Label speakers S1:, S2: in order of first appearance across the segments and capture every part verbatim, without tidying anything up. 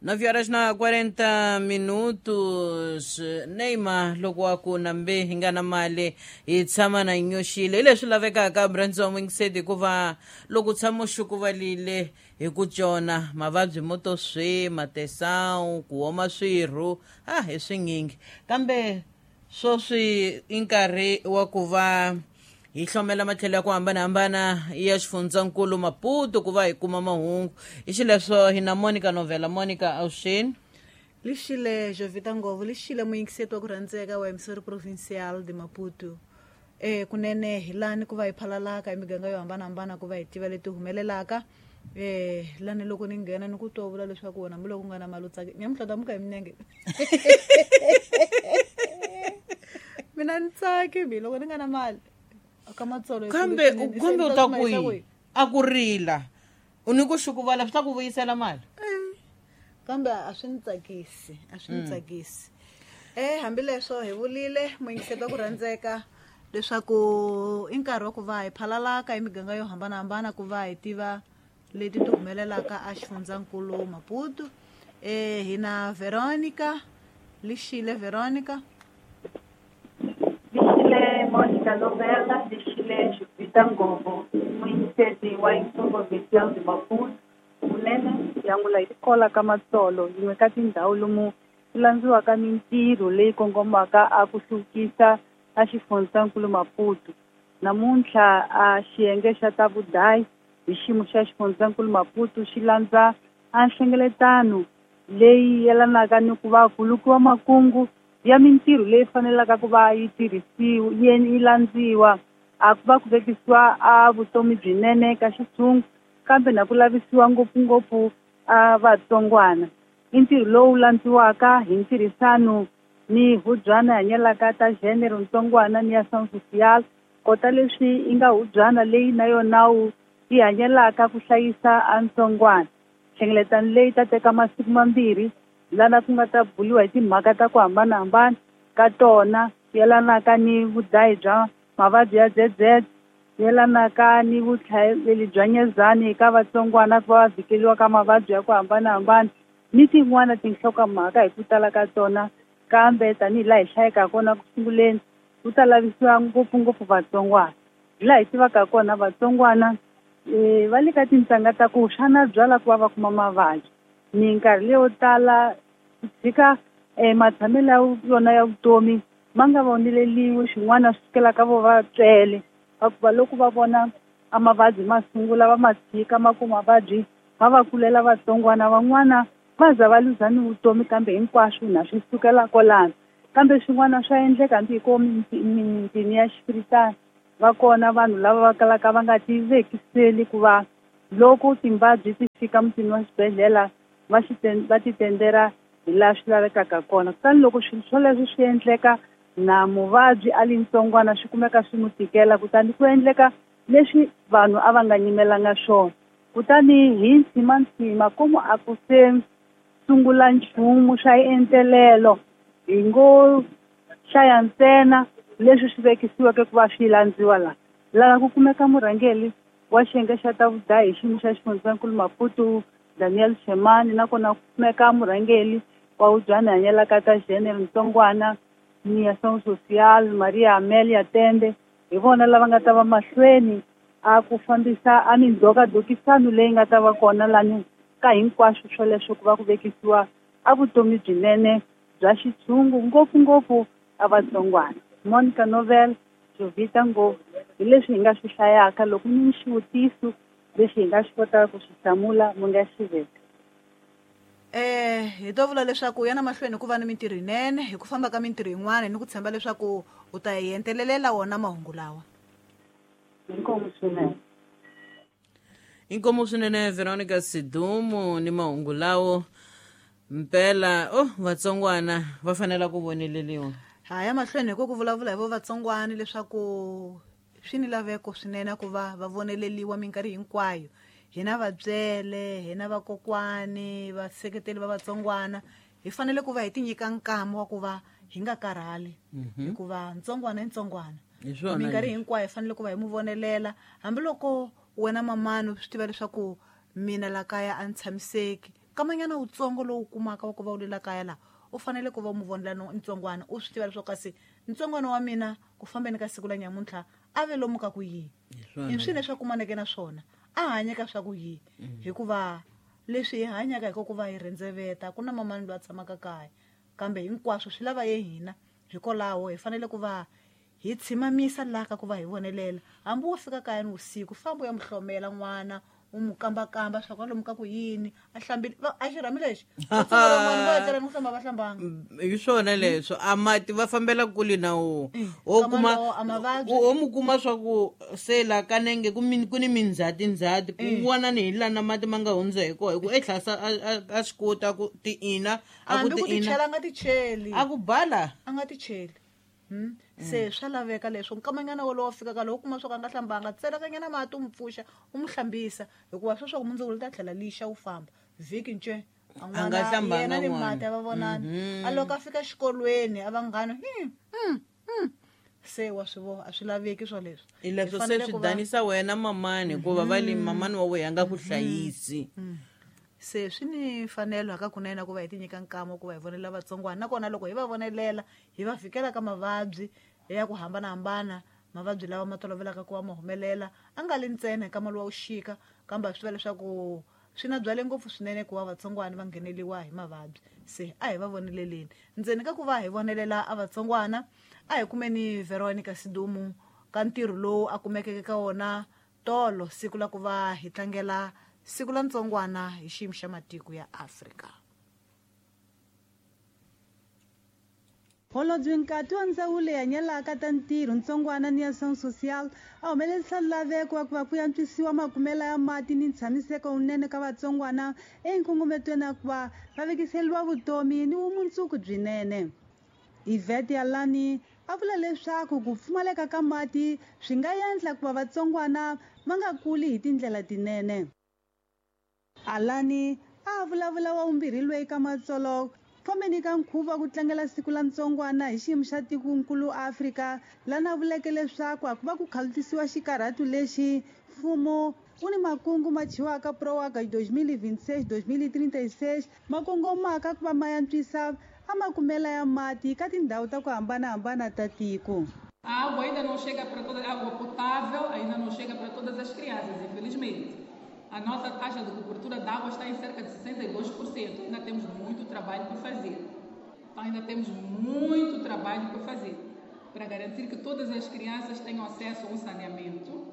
S1: Nove horas na quarenta minutos. Neymar loko wa ku nambe hi nga na mali hi tshama na nyoxile hi leswi lavekaka Brandzo Mwingseti, hikuva loko u tshama u xukuvalile hi ku cona mavabyi mo to swi matesawu ku oma swirho a hi swinyingi, kambe swoswi i nkarhi wa ku va hi hlomela matlhelo ya ku hambanahambana ya xifundzankulu Maputo ku va hi kuma mahungu. Hi xileswo hi na Monica Novela. Monica, avuxeni.
S2: Lixile Jovita Ngovo, lixile muyingiseti wa ku rhandzeka wa Emissora Provincial de Maputo. Eh kunene hi lani ku va hi phalalaka emiganga yo hambanahambana ku va hi tiva leti humelelaka. Eh lani loko ni nghena ni ku twa vula leswaku wena hambiloko ku nga na mali u tsaki nyamuhla tamuka hi minenge. Mina ni tsaki mi loko ni nga na mali.
S1: Kambe kambe u ta ku yi a ku rila u ni ku xukuvala swi ta ku vuyisela mali,
S2: kambe a swi ni tsakisi, a swi ni tsakisi. Eh hambileswo hi vulile muyingiseti wa ku rhandzeka leswaku i nkarhi wa ku va hi phalalaka emiganga yo hambanahambana ku va hi tiva leti ti humelelaka a xifundzankulu Maputo. Eh hi na Veronica. Lixile Veronica.
S3: Lixile Monica Novela, lixile Jovita Ngovo, muyingiseti wa Emissora Provincial de Maputo. Kunene yangula hi tikola ka Matsolo, yin'we ka tindhawu lomu ku landziwaka mintirho leyi kongomaka a ku hluvukisa a xifundzankulu Maputo. Namuntlha a xiyenge xa ta vudayi hi xiyimo xa xifundzankulu Maputo xi landza a nhlengeletano leyi yelanaka ni ku va ku lukiwa makungu ya mintirho leyi fanelaka ku va yi tirhisiwa yi landziwa a ku va ku vekisiwa a vutomi byinene ka xitshungu, kambe na ku lavisiwa ngopfungopfu a vatsongwana. I ntirho lowu landziwaka hi ntirhisano ni hubyana hanyelaka ta género ntsongwana ni ya ação social, kota leswi i nga hubyana leyi na yona wu yi hanyelaka ku hlayisa a ntsongwana. Nhlengeletano leyi ta teka masiku mambirhi lana ku nga ta buliwa hi timhaka ta ku hambanahambana ka tona yelanaka ni vudayi bya mavabyi ya Z Z, yelanaka ni vutlhaveli bya nyezani eka vatsongwana ku va va vhikeliwa ka mavabyi ya ku hambanahambana ni tin'wana tinhlokomhaka hi ku tala ka tona. Kambe tanihi laha hi hlayeka kona ku sunguleni ku ta lavisiwa ngopfungopfu vatsongwana. Hi laha hi tivaka kona vatsongwana um va le ka tintsanga ta ku xana byala ku va va kuma mavabyi. Minkarhi leyo tala ku tshika um matshamelo ya yona ya vutomi ma nga voneleliwi, xin'wana swi sukela ka vo va tswele va ku va loko va vona a mavabyi ma sungula va ma tshika ma ku mavabyi ma va kulela vatsongwana van'wana va za va luza ni vutomi, kambe hinkwaswo na swi sukela kwalano. Kambe swin'wana swa endleka hambi hi ko mitini ya xifiritana va kona vanhu lava va kalaka va nga ti vekiseli ku va loko timbabyi ti fika mutini wa xibedhlele va xi va ti tendera hi laha swi lavekaka kona. Kutani loko swilo swoleswo swi endleka na muvabyi a li ntsongwana swi kumeka swi n'wi tikela, kutani ku endleka leswi vanhu a va nga nyimelanga swona. Kutani hi ntsimantsima komu a ku se sungula nchumu swa entelelo, hi ngo hlaya ntsena leswi swi vekisiweke ku va swi landziwa laha. Laha ku kumeka murhangeri wa xiyenge xa ta vudayi hi xiyimo xa xifundzankulu Maputo Daniel Shemani, nakona ku kumeka murhangeri wa hubyana hanyelaka ta género ntsongwana ni ação social Maria Amelia Tende. Hi vona lava nga ta va mahlweni a ku fambisa a mindhokadokisano leyi nga ta va kona lani ka hinkwaswo swoleswo ku va ku vekisiwa a vutomi byinene bya xitshungu ngopfungopfu a vatsongwana. Monica Novel, Jovita Ngovo, hi leswi hi nga swi hlayaka. Loko ni xivutiso lexi hi nga xi kotaka ku xi hlamula mi nga xi veka.
S2: Eh hi to vula leswaku ya na mahlweni ku va ni mintirho yinene hi ku famba ka mintirho yin'wana ni ku tshemba leswaku u ta hi entelelela wona mahungu lawa.
S3: Inkomu swinene.
S1: Inkomu swinene Veronica Sidumo ni mahungu lawo. Mpela oh vatsongwana va fanela ku voneleliwa.
S2: Ha ya mahlweni hi ku ku vulavula hi vo vatsongwana leswaku swi ni laveko swinene ku va va voneleliwa minkarhi hinkwayo. Hina vabyele, hina vakokwani, vaseketeli va vatsongwana hi fanele ku va hi tinyika nkama wa ku va hi nga karhali, hikuva ntsongwana i ntsongwana. Minkarhi hinkwayo hi fanele ku va hi mu vonelela, hambiloko wena mamani u swi tiva leswaku mina la kaya a ni tshamiseki, Kamanyana wutsongo lowu kumaka wa ku va u lela kaya laha u fanele ku va u mu vonela ntsongwana u swi tiva leswaku kasi ntsongwana wa mina ku fambeni ka siku la nyamuntlha a ve lomu ka ku yini i swini leswi a kumaneke na swona a hanyeka swa ku yini hikuva leswi hi hanyaka hi ku va hi rhendzeveta ku na mamani loyi a tshamaka kaya kambe hinkwaswo swi lava ye hina hikwalaho hi fanele ku va hi tshimamisa laha ka ku va hi vonelela hambi wo fika kaya ni vusiku famba u ya mu hlomela n'wana u mu kambakamba swa ku lomu ka ku yini a hlambile a xirhami lexi van'wana va etlela ni ku hlamba va hlambanga
S1: hi swona leswo a mati va fambela kule na wo o kuma o mu kuma swa ku se la kanenge ku ku ni mindzhati ndzhati ku vona ni hi lana mati ma nga hundza hi kona hi ku etlhasa a swi kota ku ti ina
S2: a ku ti ina a nga ti cheli
S1: a ku bala
S2: a nga ti cheli Hmm? Se swa laveka leswo nkamanyana wolowo fikaka loko kuma swo ka nga hlambanga tselekanyana mati u mu pfuxa u mu hlambisa hikuva sweswo ku mundzuku li ta tlhela lixa u famba vhiki nce
S1: a nga hlambanga
S2: ni mati a va vonani a loko a fika xikolweni a vanghana hmm, hmm, hmm. Se wa swi vona a swi laveki swoleswo
S1: i leswo se swi danisa wena mamani hikuva va le mamani wa wena a nga ku hlayisi
S2: se swi ni fanelo hakakunene ku va hi ti nyika nkama ku va hi vonelela vatsongwana nakona loko hi va vonelela hi va fikela ka mavabyi ya ku hambanahambana mavabyi lawa ma tolovelaka ku va ma humelela a nga li ntsena nkama lowa wu xika kambe a swi tiva leswaku swi na byale ngopfu swinene ku va vatsongwana va ngheneliwa hi mavabyi se a hi va voneleleni ndzeni ka ku va hi vonelela a vatsongwana a hi kumeni Veronica Sidumo ka ntirho lowu a kumekeke ka wona tolo siku la ku va hi tlangela siku la ntsongwana hi xiyimo xa matiko ya Afrika.
S4: Holobye Nkati wa ndzawulo ya nyelaka ta ntirho ntsongwana ni ya ação social a humelerisa laveko wa ku va ku antswisiwa makumelo ya mati ni ntshamiseko wunene ka vatsongwana enkongometweni ya ku va va vekiseriwa vutomi ni vumundzuku byinene. Yvette Yalani a vula leswaku ku pfumaleka ka mati swi nga endla ku va vatsongwana va nga kuli hi tindlela tinene. Alani a vulavula wa vumbirhi loyi ka matsolo fambeni ka nkhuvo wa ku tlangela siku la ntsongwana hi xiyimo xa tikonkulu Afrika lana vuleke leswaku a ku va ku khalutisiwa xikarhatu lexi mfumo wu ni makungu ma chiwaka PROAGUA dois mil e vinte e seis dois mil e trinta e seis ma kongomaka ku va ma antswisa a makumela ya mati ka tindhawu ta ku hambanahambana ta tiko.
S5: A água ainda não chega para toda, a água potável ainda não chega para todas as crianças, infelizmente. A nossa taxa de cobertura de água está em cerca de sessenta e dois por cento. Ainda temos muito trabalho por fazer. Então, ainda temos muito trabalho por fazer para garantir que todas as crianças tenham acesso a um saneamento.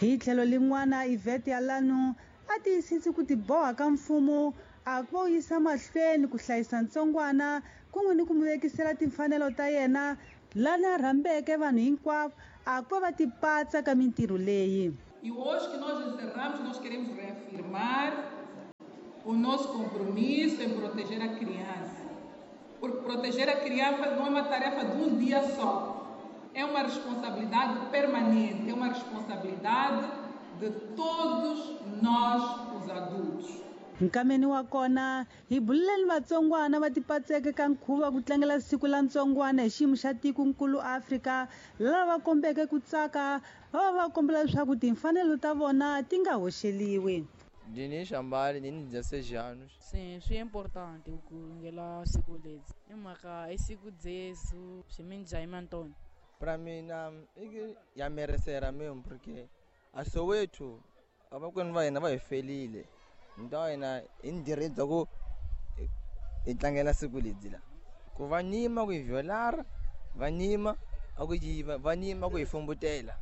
S4: Hi tlhelo lin'wana Yvette Yalano a tiyisisi ku tiboha ka mfumo a ku va yisa mahlweni ku hlayisa ntsongwana kun'we ni ku mu vekisela timfanelo ta yena lana rhambeke vanhu hinkwavo a ku va va tipatsa ka mintirho leyi.
S5: E hoje que nós encerramos, nós queremos reafirmar o nosso compromisso em proteger a criança. Porque proteger a criança não é uma tarefa de um dia só. É uma responsabilidade permanente, é uma responsabilidade de todos nós, os adultos.
S4: Nkameni wa kona hi buleleni vatsongwana va tipatseke ka nkhuvo wa ku tlangela siku la ntsongwana hi xiyimo xa tikonkulu Afrika lava va kombeke ku tsaka va va va kombela leswaku timfanelo ta vona ti nga hoxeliwi.
S6: Dinis Ambari, ndini dezesseis anos.
S7: Sim, swi importante ku kulungela siku ledzi. I mhaka i siku dzezu swi Antônio.
S6: Para mim, ya merecera mesmo porque a Soweto abakwenu va hina va hi felile. Então hina hi ni direito ku hi tlangela siku ledzi la. Ku va nyima ku hi violar, va nyima a ku yiva, va nyima ku hi fumbutela.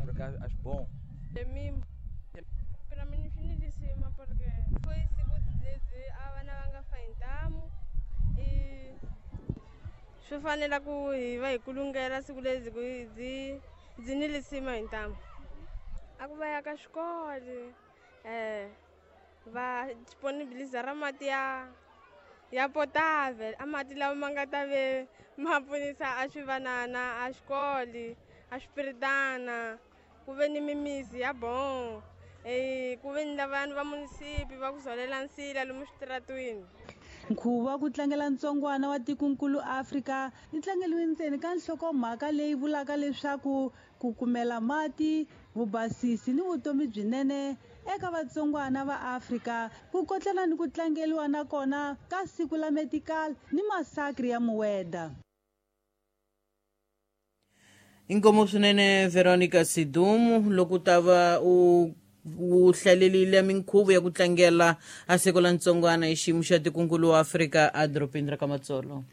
S6: Porque acho bom.
S8: Para mim finalíssima porque foi siku dzedzi a vana va nga fa hi ntamu i swi fanela ku hi va hi kulungela siku ledzi ku dzi dzi ni lisima hi ntamu a ku va ya ka xikolo eh va disponibiliza ra mati ya ya potável a mati lawa ma nga ta ve ma pfunisa a swivanana a xikolo a swipiritana ku ve ni mimisi ya bon eh ku ve ni vanhu va munisipi va ku zolela nsila lomu switaratwini.
S4: Nkhuvo wa ku tlangela ntsongwana wa tikonkulu Afrika yi tlangeliwe ntsena ka nhlokomhaka leyi vulaka leswaku ku kumela mati, vubasisi ni vutomi byinene eka vatsongwana va Afrika ku kotlana ni ku tlangeliwa na kona ka siku la Metical ni masakri ya Mueda.
S1: Inkomo swinene Veronica Sidumu loko ta va u u hlalelile minkhuvo ya ku tlangela a siku la ntsongwana hi xiyimo xa tikunkulu wa Afrika a dorobeni ra ka Matsolo.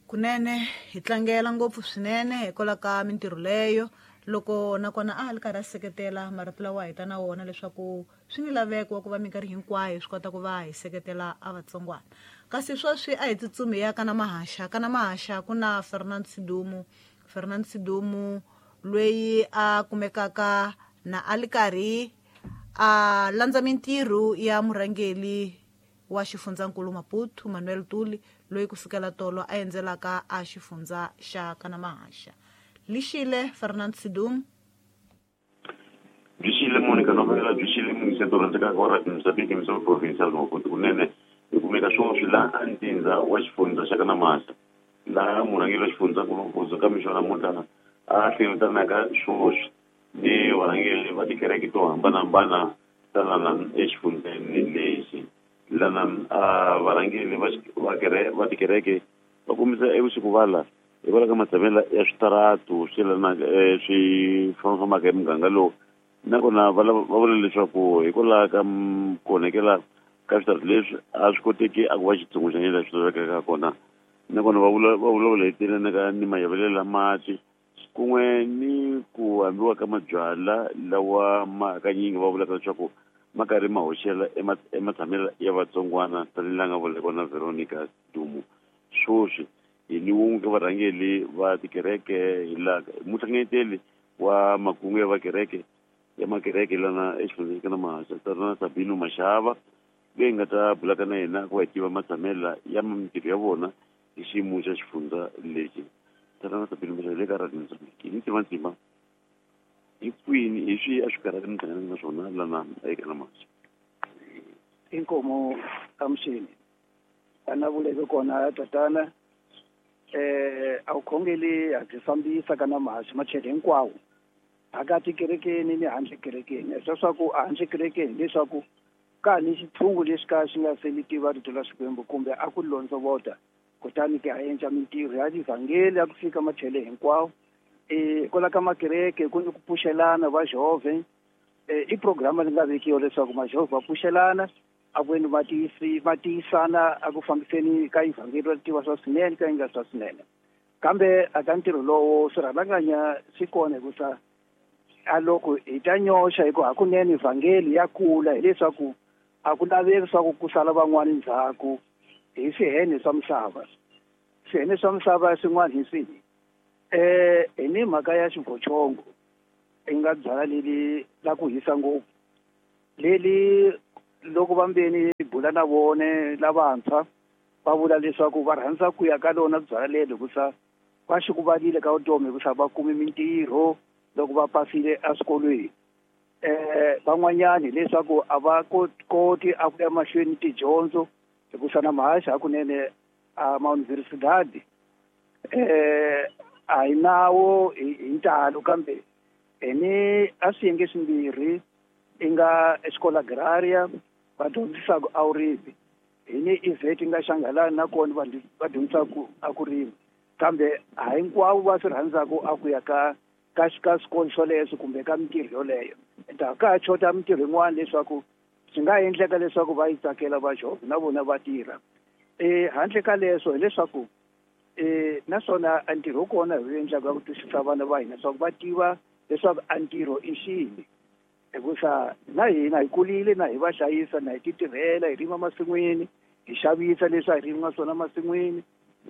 S2: Kunene hi tlangela ngopfu swinene hikwalaho ka mintirho leyo loko nakona a li karhi a seketela marito lawa hi ta na wona leswaku swi ni laveko wa ku va minkarhi hinkwayo swi kota ku va hi seketela a vatsongwana. Kasi sweswi a hi tsutsumi ya kana mahaxa kana mahaxa ku na Fernand Sidumu. Fernand Sidumu loyi a kumekaka na a li karhi a landza mintirho ya murhangeri wa xifundzankulu Maputo Manuel Tuli loyi kusukela tolo a endzelaka a xifundza xa kana mahaxa. Lixile Fernand Sidumu.
S9: Lixile Monica Novela, lixile Municipio rhandzekaka wa Radio Mozambique Misava Provincial Maputo kunene hi kumeka swoswi laha a Ntinza wa xifundza xa kana mahaxa laha murhangeri wa xifundzankulu Maputo ka mixo namuntlha a hlengeletanaka swoswi ni varhangeri va tikereke to hambanahambana ta lana exifundzeni lexi. Lana a varhangeri va va tikereke va kombisa evusiku hikwalaho ka matshamelo ya switaratu swi yelanaka swi fambafambaka hi muganga lowu nakona va va vula leswaku hikwalaho ka ku onhakela ka switaratu leswi a swi koteki a ku va xitsundzuxo lexi swi lavekaka kona nakona va vula va vulavula hi telanaka ni mayavelelo ya mati kun'we ni ku hambiwa ka mabyala lawa ma hakanyingi va vulaka leswaku ma karhi ma hoxela ematshamelo ya vatsongwana tanihi laha nga vula kona Veronica Dumu. Swoswi hi ni wun'we ka varhangeri va tikereke hi laha muhlanganeteli wa makungu ya vakereke ya makereke lana exifundzeni ka Mahaxa Tatana Sabino Mashava leyi nga ta bulaka na yena ku va hi tiva matshamelo ya mintirho ya vona hi xiyimo xa xifundza lexi. Tatana Sabino Mashava le ka Radio Mozambique ni tiva ndzima hi kwini hi swi a swi karhata mi hlanganaka na swona lana eka Mahaxa.
S10: Inkomo amxini ana vuleke kona tatana eh a vukhongeli a byi fambisa ka na mahaxa machele hinkwawo phakathi kerekeni ni handle kerekeni leswaku a handle kerekeni leswaku ka ni xitshungu lexi ka xi nga se ni tiva rito la Xikwembu kumbe a ku londzovota kutani ke a endla mintirho ya tivhangeli ya ku fika machele hinkwawo. Eh kwala ka makereke ku ni ku pfuxelana va Jehovha eh i programa leyi nga vekiwa leswaku majehovha va pfuxelana a ku endli matiyisi va tiyisana a ku fambiseni ka ivhangeli ra tiva swa swinene ka yi nga swa swinene kambe a ka ntirho lowo swirhalanganya swi kona hikusa a loko hi ta nyoxa hi ku hakunene vhangeli ya kula hileswaku a ku laveki swa ku ku sala van'wani ndzhaku hi swihene swa misava. Swihene swa misava swin'wana hi swihi? Eh hi ni mhaka ya xivochongo i nga byala leli la ku hisa ngopfu leli loko vambeni bula na vone lavantshwa va vula leswaku va rhandza ku ya ka lona byala leli hikusa va xikuvalile ka vutomi hikusa va kumi mintirho loko va pasile eswikolweni. Eh van'wanyani leswaku a va koti a ku ya mahlweni tidyondzo hikusa na mahaxa hakunene a mauniversidadi eh a hi nawo hi ntalo kambe ene a swiyenge swimbirhi i nga escola agraria va dyondzisaka a vurimi hi ni I V E T nga Xangalani nakona va va dyondzisaka a ku rima kambe a hinkwavo va swi rhandzaka a ku ya ka ka ka swikolo swoleswo kumbe ka mintirho yoleyo. Ta ka ha chota mintirho yin'wana leswaku swi nga endleka leswaku va yi tsakela va Jehovha na vona va tirha. Eh handle ka leswo hileswaku eh naswona a ntirho kona hi wu endlaka ku twisisa vana va hina leswaku va tiva leswaku a ntirho i xini hikusa na hina hi kulile na hi va hlayisa na hi ti tirhela hi rima masin'wini hi xavisa leswi a hi rima swona masin'wini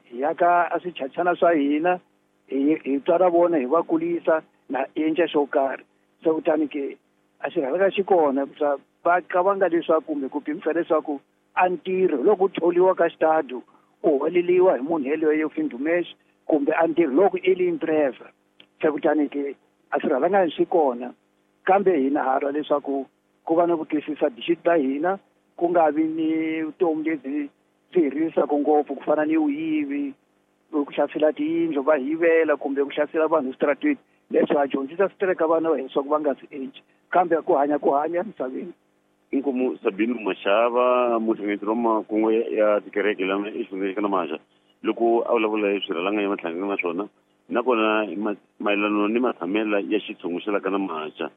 S10: hi yaka a swichachana swa hina hi hi tswara vona hi va kulisa na endla xo karhi. Se kutani ke a xirhalaka xi kona hikusa va qavanga leswaku kumbe ku pimisa leswaku a ntirho loko u tholiwa ka xitado u holeliwa hi munhu yeleyo findumesh kumbe a ntirho loko i li empresa. Se kutani ke a swirhalanganya swi kona kambe hina ha lwa leswaku ku va na ku twisisa dixiti ta hina ku nga vi ni vutomi lebyi byi hi ririsaka ngopfu ku fana ni vuyivi ku hlasela tiyindlu va yivela kumbe ku hlasela vanhu eswitarateni. Leswi ha dyondzisa swi tereka vana va hina leswaku va nga swi endli kambe ku hanya ku hanya emisaveni
S9: Inkomu Sabino Mashava muhlengeteri wa makungu ya tikereke lama exifundzeni xa Namahasha loko a vulavula hi swirhalanga ya matlhangana na swona nakona mayelana ni matshamela ya xitshungu xa la ka Namahasha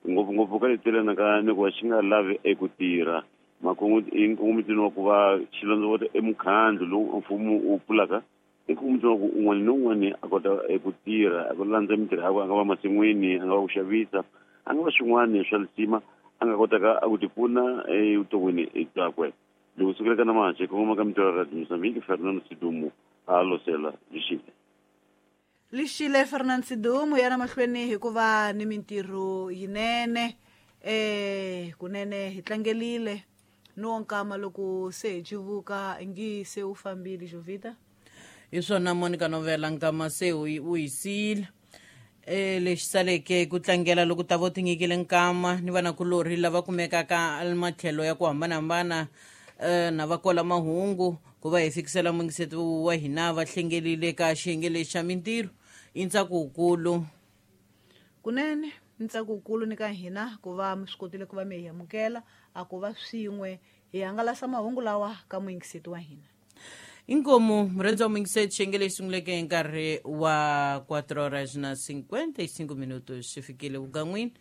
S9: ngopfungopfu ka letelana ka ni ku va xi nga lavi eku tirha makungu i nkongomitweni wa ku va xi londzovota emukhandlu lowu mfumo wu pfulaka i nkongomitweni wa ku un'wana ni un'wana a kota eku tirha a ku landza mintirho yakwe a nga va masin'wini a nga va ku xavisa a nga va swin'wana swa lisima a nga kotaka a ku tipfuna evuton'wini byakwe. Loko sukela ka Namahasha kongoma ka mintirho ya Radio Mozambique, Fernando Sidumo a losela lixile.
S2: Lixile Fernando Sidumo yana mahlweni hikuva ni mintirho yinene eh kunene hi tlangelile no nkama loko se hi civuka ngi se u fambile Jovita.
S1: Hi swona Monica Novela nkama se u yisile e lexi saleke ku tlangela loko ta vo tinyikile nkama ni vanakulorhi lava kumekaka matlhelo ya ku hambanahambana na va kola mahungu ku va hi fikisela mungiseti wa hina va hlengelile ka xiyenge lexi xa mintirho i ntsako wukulu
S2: kunene ntsako wukulu ni ka hina ku va mi swi kotile ku va mi hi amukela a ku va swin'we hi hangalasa mahungu lawa ka muyingiseti wa hina.
S1: Inkomu murendzi wa muyingiseti xiyenge lexi sunguleke hi nkarhi wa quatro horas na cinquenta e cinco minutos xi fikile vugan'wini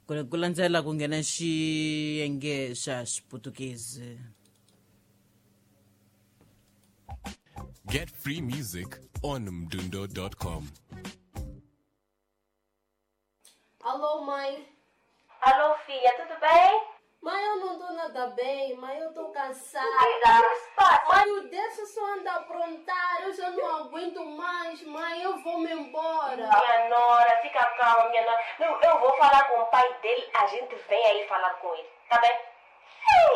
S1: ku landzela ku nghena xiyenge xa Xiputukezi.
S11: Get free music on mdundo dot com.
S8: Alô, mãe.
S12: Alô, filha, tudo bem?
S8: Mãe, eu não tô nada bem, mãe, eu tô cansada. Mãe, o Décio só anda a aprontar, eu já não aguento mais, mãe, eu vou me embora.
S12: Minha nora, fica calma, minha nora. Eu, eu vou falar com o pai dele, a gente vem aí falar com ele, tá bem?